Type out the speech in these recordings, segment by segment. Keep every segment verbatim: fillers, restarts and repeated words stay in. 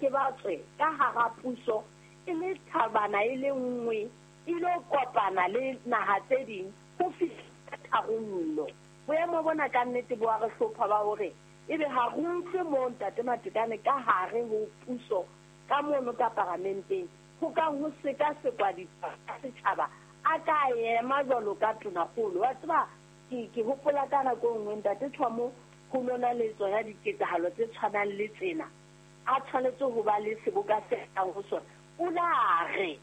ke ba tswe ka hara puso e le thabana e le nngwe e lo kopana le naha tse ding ho fihla tharollo. Boemo bona ka nnete bo a re hlopha ba hore ebe ha re utlwe moo ntate Matekane ka hare ho puso ka mono ka paramenteng ho kang ho sekasekwa ditaba setjhaba a ka ema jwalo ka tonakgolo. Wa tseba ke ke hopola ka nako e nngwe ntate Thomo ho nona le tsona diketsahalo tse tshwanang le tsena a tshwanetse ho ba le seboka se kang ho sona. O la re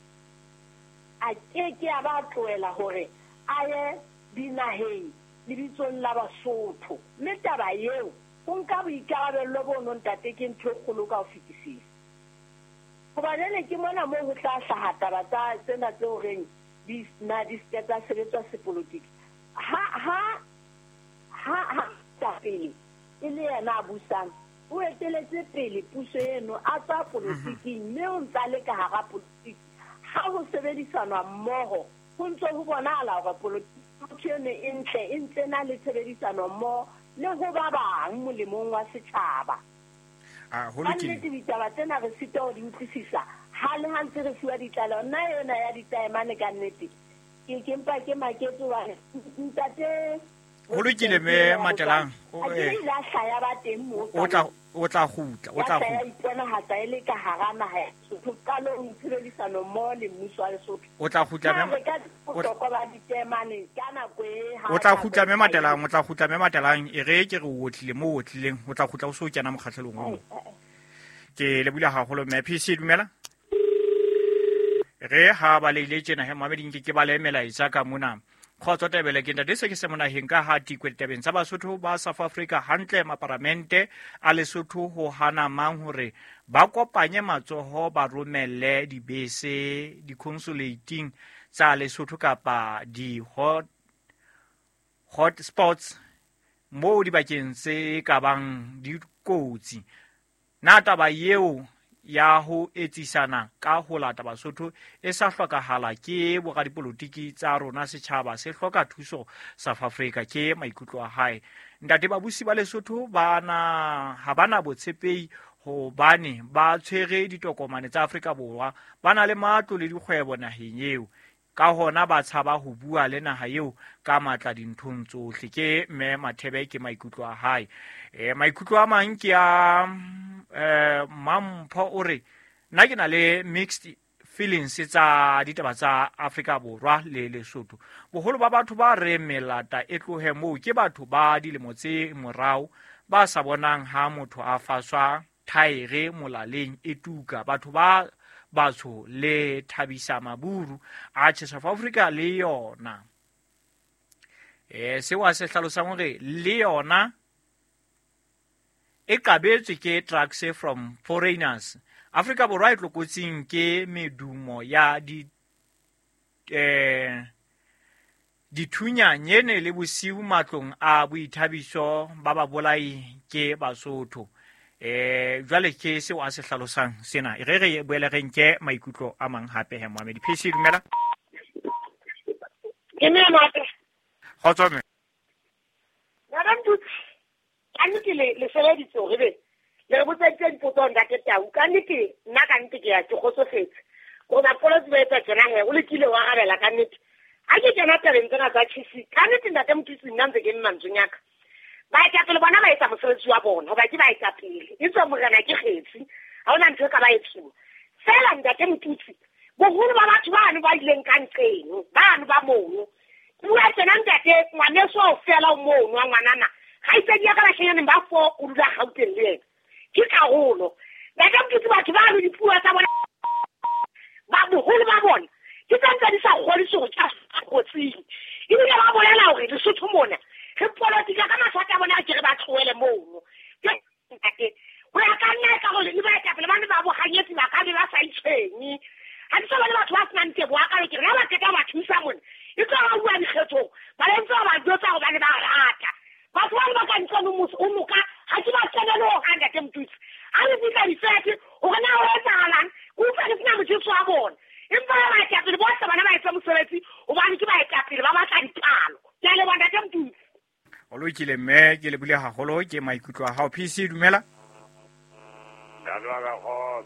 a keke a ba tlohela hore a ye dinaheng lebitsong la Basotho, mme taba eo ho nka boikarabello bono ntate ke ntho e kgolo ka ho fetisisa. Hoba jwale ke mona moo ho tla hlaha taba tsa tsena tse horeng di na di se tsa sebetswa sepolotiki. Ha ha ha ha pele e le yena a busang o eteletse pele puso eno a tswa polotiking mme o ntsa le ka hara polotiki. Ha ho sebedisanwa mmoho ho ntse ho bonahala hore polotiki eno e ntle e ntse na le tshebedisano mmoho le ho ba bang molemong wa setjhaba. Ah, ho Ka lokile. nnete ditaba tsena re sitwa ho di utlwisisa ha le ha ntse re fuwa ditlaleho. Nna yona ya ditaemane ka nnete ke ke mpa ke maketse hobane ntate Ho lokile mme Matelang. O, A ke eh, ile a hlaya ba teng moo o tla o tla kgutla, o ya tla hlaya kgutla. iponahatsa e le ka hara naha ya Lesotho qalong tshebedisano mmoho le mmuso wa Lesotho. O tla kgutla Na mme re ka o tla bohlokwa ba ditaemane ka nako e ha o tla nako kgutla e mme sa Matelang, o tla kgutla mme Matelang. E re ke re o otlile moo o otlileng, o tla kgutla o so o kena mokgahlelong o mong. Ke lebohile haholo mme. P C dumela. Re ha ba leile tjena he mamedi nke ke ba le melaetsa ka mona. Kgotso Tebele ke ntate se ke se monaheng ka ha tikwe ditabeng tsa Basotho ba South Africa hantle maparamente a Lesotho ho hana mang hore ba kopanye matsoho ba romelle dibese di-consulating tsa Lesotho kapa di-hot hot spots moo dibakeng tse ka bang dikotsi. Na taba eo ya ho etsisana ka ho lata Basotho e sa hlokahala ke boradipolotiki tsa rona, setjhaba se hloka thuso South Africa, ke maikutlo a hae. Ntate babusi ba Lesotho ba na ha bana botshepehi hobane ba tshwere ditokomane tsa Afrika Borwa, ba na le matlo le dikgwebo naheng eo, ka hona ba tshaba ho bua le naha eo ka matla dinthong tsohle. Ke mme Mathebe, ke maikutlo a hae. E, maikutlo a mang ke a, eh, Mampho o re nna ke na le mixed feelings tsa ditaba tsa Afrika Borwa le Lesotho. Boholo ba batho ba re melata e tlohe moo ke batho ba dilemo tse morao ba sa bonang ha motho a faswa thaere molaleng e tuka. Batho ba batsho le thabisa maburu a tjhe South Africa le yona. Eh, seo a se hlalosang hore le yona e qabetswe ke trucks from foreigners. Afrika Borwa e tlokotsing ke medumo ya di, eh, dithunya nyene le bosiu matlong a boithabiso ba babolai ke Basotho. Eh, jwale ke seo a se hlalosang sena. E re re boele re nke maikutlo a mang hape he Mohamedi. P C dumela. Ke mme Mate. Kgotso mme. Madam Tutsi, ka nnete le, le sebeditse hore be le re botseditse dipotso ntate Tau. Ka nnete nna ka nnete ke ya ke kgotsofetse. Gore bapolotsi ba etsa tjena he, o lekile wa arabela ka nnete. Ha ke kena tabeng tsena tsa tjhisi, ka nnete ntate Motutsi nna ntse ke mme mantsweng a ka. Baetapele bona ba etsa mosebetsi wa bona, hoba ke baetapele. E tswa morena ke kgetsi, ha hona ntho e ka ba etsuwa. Feela ntate Motutsi, boholo ba batho bano ba ileng ka nqeng, bano ba mono. Ke bua tjena ntate, ngwaneso kaofela o mono wa ngwanana. Kgaitsedi ya ka bashenyaneng ba four o dula Gauteng le yena. Ke karolo. Ntate Motutsi, batho bano dipuo tsa bona, ba boholo ba bona, ke tse ntse di sa kgodise hore ke a kotsing. Ebile ba bolela hore Lesotho mona re politika ka mathata a bona, ke re ba tlohele mono. Ke ntate, ho ya ka nna e ka hore le baetapele ba ne ba bohanyetsi ba ka be ba sa itshwenye. Ha ke sa bone batho ba senang teboho hakalo, ke re ha ba qeta ho ba thusa mona, e tlo ba bua dikgethong, ba le ntse ba ba jwetsa hobane ba rata. Batho ba le ba ka ntlong o mose, o moka, ha ke ba kenele ho hang, ntate Motutsi. Ha le fihla difete, hore na ho etsahalang, ke utlwa ke sena motjheso wa bona. Empa ba baetapele bohle bona ba etsa mosebetsi hobane ke baetapele ba batla dipalo. Ke a leboha ntate Motutsi. O lokile mme, ke lebohile haholo ke maikutlo a hao. P C dumela.